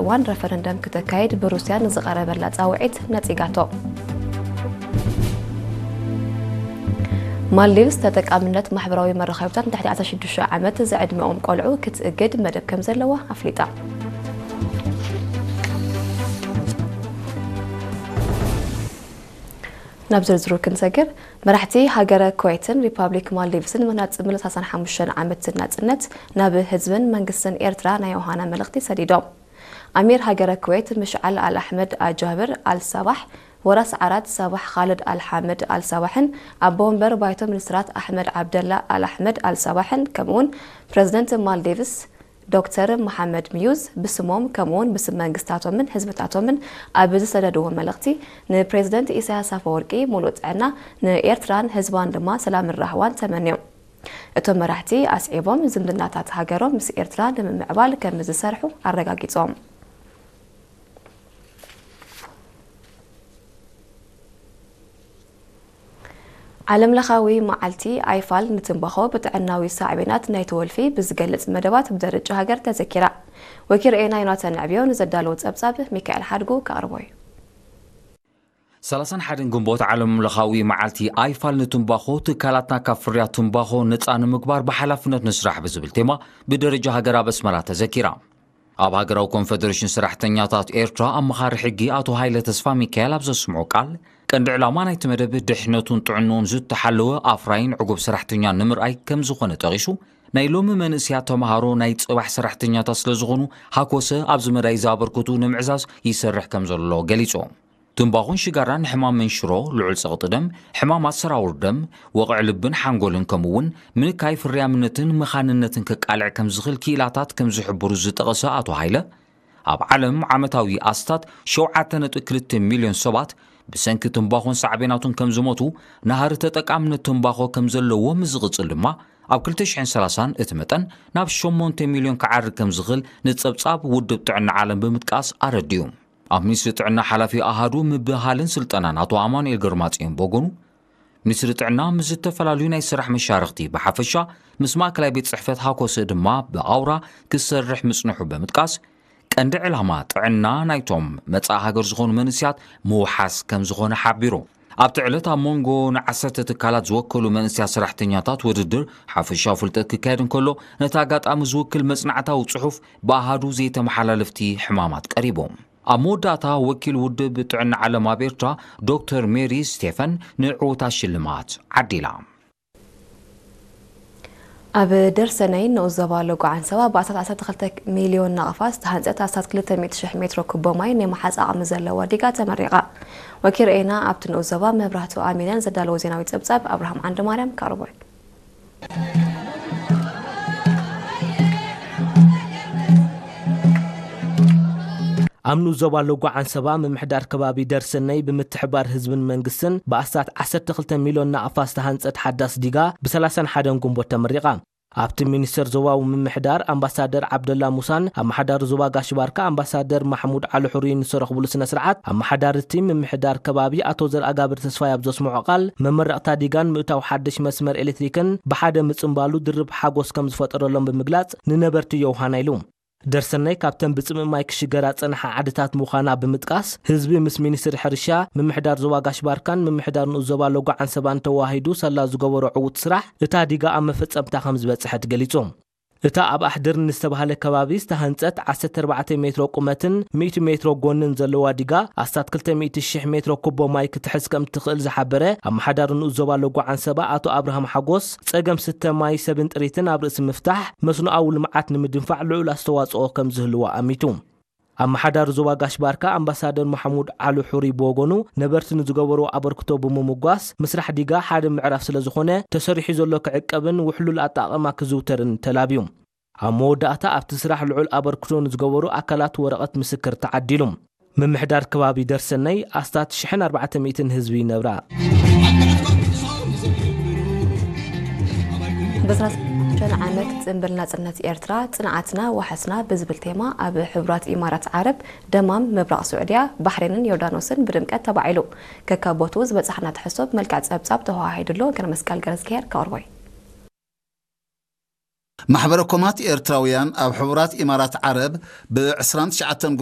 እዋን ረፈረንደም ክተካይድ ብሩስያ ንዝቐረበላ ጻውዒት ነጺጋቶ። ማልዲቭስ ተጠቃምነት ማሕበራዊ መራኸብታት ንትሕቲ ዓሰርተ ሽዱሽተ ዓመት ዝዕድመኦም ቆልዑ ክትእግድ መደብ ከም ዘለዋ ኣፍሊጣ። ናብ ዝርዝሩ ክንሰግር፣ መራሕቲ ሃገረ ኩዌትን ሪፓብሊክ ማልዲቭስን ምህናጽ ምሉእ ሰላሳን ሓሙሽተን ዓመት ናጽነት ናብ ህዝብን መንግስትን ኤርትራ ናይ ዮሃና መልእኽቲ ሰዲዶም። ኣሚር ሃገረ ኩዌት ምሽዓል ኣል ኣሕመድ ኣጃብር ኣል ሳባሕ፣ ወራስ ዓራት ሳባሕ ኻልድ ኣል ሓመድ ኣል ሳባሕን ኣቦ ወንበር ባይቶ ሚኒስትራት ኣሕመድ ዓብደላ ኣል ኣሕመድ ኣል ሳባሕን ከምኡውን ፕረዚደንት ማልዲቭስ ዶክተር መሓመድ ሚዩዝ ብስሞም ከምኡውን ብስም መንግስታቶምን ህዝብታቶምን ኣብ ዝሰደድዎ መልእኽቲ፣ ንፕሬዚደንት ኢሳያስ ኣፈወርቂ ሙሉእ ጥዕና፣ ንኤርትራን ህዝባን ድማ ሰላምን ራህዋን ተመንዮም። እቶም መራሕቲ ኣስዒቦም ዝምድናታት ሃገሮም ምስ ኤርትራ ንምምዕባል ከም ዝሰርሑ ኣረጋጊጾም። ዓለም ለኻዊ መዓልቲ ኣይፋል ንትምባኾ ብጥዕናዊ ሳዕቤናት ናይቲ ወልፊ ብዝገልጽ መደባት ብደረጃ ሃገር ተዘኪራ። ወኪል ርኤና ዮናታን ዕብዮ ንዘዳለዎ ጸብጻብ ሚካኤል ሓድጉ ከቕርቦ እዩ። ሰላሳን ሓደን ግንቦት ዓለም ለኻዊ መዓልቲ ኣይፋል ንትምባኾ ትካላትና ካብ ፍርያት ትምባኾ ነፃ ንምግባር ብሓላፍነት ንስራሕ ብዝብል ቴማ ብደረጃ ሃገር ኣብ ኣስመራ ተዘኪራ። ኣብ ሃገራዊ ኮንፈደሬሽን ሰራሕተኛታት ኤርትራ ኣመኻሪ ሕጊ ኣቶ ሃይለ ተስፋ ሚካኤል ኣብ ዘስምዖ ቃል፣ ቀንዲ ዕላማ ናይቲ መደብ ድሕነቱን ጥዕንኡን ዝተሓለወ ኣፍራይን ዕጉብ ሰራሕተኛ ንምርኣይ ከም ዝኾነ ጠቒሱ፣ ናይ ሎሚ መንእስያት ተምሃሮ ናይ ጽባሕ ሰራሕተኛታት ስለ ዝኾኑ፣ ሃኮሰ ኣብዚ መዳይ ዘበርክቱ ንምዕዛዝ ይሰርሕ ከም ዘሎ ገሊጹ። ትምባኾን ሽጋራን ንሕማም መንሽሮ፣ ልዑል ጸቕጢ ደም፣ ሕማማት ሰራውር ደም፣ ወቕዒ ልብን ሓንጎልን ከምኡ እውን ምንካይ ፍርያምነትን መኻንነትን ከቃልዕ ከም ዝኽእል ክኢላታት ከም ዝሕብሩ ዝጠቐሰ ኣቶ ሃይለ፣ ኣብ ዓለም ዓመታዊ ኣስታት ሸውዓተ ነጥቢ ክልተ ሚልዮን ሰባት ብሰንኪ ትምባኾን ሳዕቤናቱን ከም ዝሞቱ፣ ናህሪ ተጠቃምነት ትምባኾ ከም ዘለዎ ምስ ዝቕጽል ድማ ኣብ ክልተ ሽሕን ሰላሳን እቲ መጠን ናብ ሸሞንተ ሚልዮን ክዓርግ ከም ዝኽእል ንጸብጻብ ውድብ ጥዕና ዓለም ብምጥቃስ ኣረዲኡ። ኣብ ሚኒስትሪ ጥዕና ሓላፊ ኣሃዱ ምብህሃልን ስልጠናን ኣቶ ኣማኑኤል ግርማጽዮን ብወገኑ፣ ሚኒስትሪ ጥዕና ምስ ዝተፈላለዩ ናይ ስራሕ መሻርኽቲ ብሓፈሻ ምስ ማእከላይ ቤት ጽሕፈት ሃኮሰ ድማ ብኣውራ ክሰርሕ ምጽንሑ ብምጥቃስ፣ ቀንዲ ዕላማ ጥዕና ናይቶም መጻኢ ሃገር ዝኾኑ መንእስያት ምውሓስ ከም ዝኾነ ሓቢሩ። ኣብቲ ዕለት ኣብ መንጎ ንዓሰርተ ትካላት ዝወከሉ መንእስያት ሰራሕተኛታት ውድድር ሓፈሻዊ ፍልጠት ክካየድ እንከሎ፣ ነቲ ኣጋጣሚ ዝውክል መጽናዕታዊ ጽሑፍ ብኣሃዱ ዘይተመሓላለፍቲ ሕማማት ቀሪቡ። ኣብ መወዳእታ ወኪል ውድብ ጥዕና ዓለም ኣብ ኤርትራ ዶክተር ሜሪ ስቴፈን ንዕውታት ሽልማት ዓዲላ። ኣብ ደርሰነይ ንኡስ ዞባ ሎጎ ዓንሰባ ብኣስታት ዓሰርተ ክልተ ሚልዮን ናቕፋ ዝተሃንጸት ኣስታት ክልተ ሚእቲ ሽሕ ሜትሮ ኩቦ ማይ ናይ ምሓዝ ዓቕሚ ዘለዋ ዲጋ ተመሪቓ። ወኪል ርኤና ኣብቲ ንኡስ ዞባ መብራህቱ ኣሚነን ዘዳለዎ ዜናዊ ጸብጻብ ኣብርሃም ዓንደማርያም ከቕርቦ እዩ። ኣብ ንኡስ ዞባ ሎጎ ዓንሰባ ምምሕዳር ከባቢ ደርሰነይ ብምትሕባር ህዝብን መንግስትን ብኣስታት ዓሰርተ ክልተ ሚልዮን ናቕፋ ዝተሃንጸት ሓዳስ ዲጋ ብ ሰላሳን ሓደን ግንቦት ተመሪቓ። ኣብቲ ሚኒስተር ዞባዊ ምምሕዳር ኣምባሳደር ዓብደላ ሙሳን ኣመሓዳሪ ዞባ ጋሽ ባርካ ኣምባሳደር ማሕሙድ ዓሊ ሑሪን ዝተረኽብሉ ስነ ስርዓት ኣመሓዳሪ እቲ ምምሕዳር ከባቢ ኣቶ ዘርኣጋብር ተስፋይ ኣብ ዘስምዖ ቃል መመረቕታ ዲጋን ምእታው ሓድሽ መስመር ኤሌክትሪክን ብሓደ ምጽንባሉ ድርብ ሓጎስ ከም ዝፈጠረሎም ብምግላጽ ንነበርቲ ዮውሃና ኢሉ። ደርሰናይ ካብተን ብጽምእ ማይ ክሽገራ ዝጸንሓ ዓድታት ምዃና ብምጥቃስ፣ ህዝቢ ምስ ሚኒስትሪ ሕርሻ፣ ምምሕዳር ዞባ ጋሽ ባርካን ምምሕዳር ንኡስ ዞባ ሎጎ ዓንሰባን ተወሃሂዱ ሳላ ዝገበሮ ዕዉት ስራሕ፣ እታ ዲጋ ኣብ መፈጸምታ ከም ዝበጽሐት ገሊጹ። እታ ኣብ ኣሕድር ንዝተባህለ ከባቢ ዝተሃንጸት ዓሰርተ ኣርባዕተ ሜትሮ ቁመትን ሚእቲ ሜትሮ ጎንን ዘለዋ ዲጋ፣ ኣስታት ክልተ ሚእቲ ሽሕ ሜትሮ ኩቦ ማይ ክትሕዝ ከም እትኽእል ዝሓበረ ኣመሓዳሪ ንኡስ ዞባ ሎጎ ዓንሰባ ኣቶ ኣብርሃም ሓጎስ፣ ጸገም ስተ ማይ ሰብን ጥሪትን ኣብ ርእሲ ምፍታሕ፣ መስኖኣዊ ልምዓት ንምድንፋዕ ልዑል ኣስተዋጽኦ ከም ዝህልዎ ኣሚቱ። ኣመሓዳሪ ዞባ ጋሽ ባርካ ኣምባሳደር ማሕሙድ ዓሊ ሑሪ ብወገኑ፣ ነበርቲ ንዝገበርዎ ኣበርክቶ ብምምጓስ፣ ምስራሕ ዲጋ ሓደ ምዕራፍ ስለ ዝኾነ፣ ተሰሪሑ ዘሎ ክዕቀብን ውሕሉል ኣጠቓቕማ ክዝውተርን ተላብዩ። ኣብ መወዳእታ፣ ኣብቲ ስራሕ ልዑል ኣበርክቶ ንዝገበሩ ኣካላት ወረቐት ምስክር ተዓዲሉ። ምምሕዳር ከባቢ ደርሰነይ ኣስታት ሽሕን ኣርባዕተ ሚእትን ህዝቢ ይነብራ። ብዕስራን ሓሙሽተን ዓመት ጽንብል ናጽነት ኤርትራ፣ ጽንዓትና ዋሕስና ብዝብል ቴማ ኣብ ሕቡራት ኢማራት ዓረብ፣ ደማም፣ ምብራቕ ስዑድያ፣ ባሕሬንን ዮርዳኖስን ብድምቀት ተባዒሉ። ከካብ ቦትኡ ዝበጻሕና ትሕዝቶ ብመልክዕ ጸብጻብ ተወሃሂዱ ኣሎ። ገረመስቀል ገረዝግሄር ከቕርቦ እዩ። ማሕበረ ኮማት ኤርትራውያን ኣብ ሕቡራት ኢማራት ዓረብ ብ ዕስራን ትሽዓተን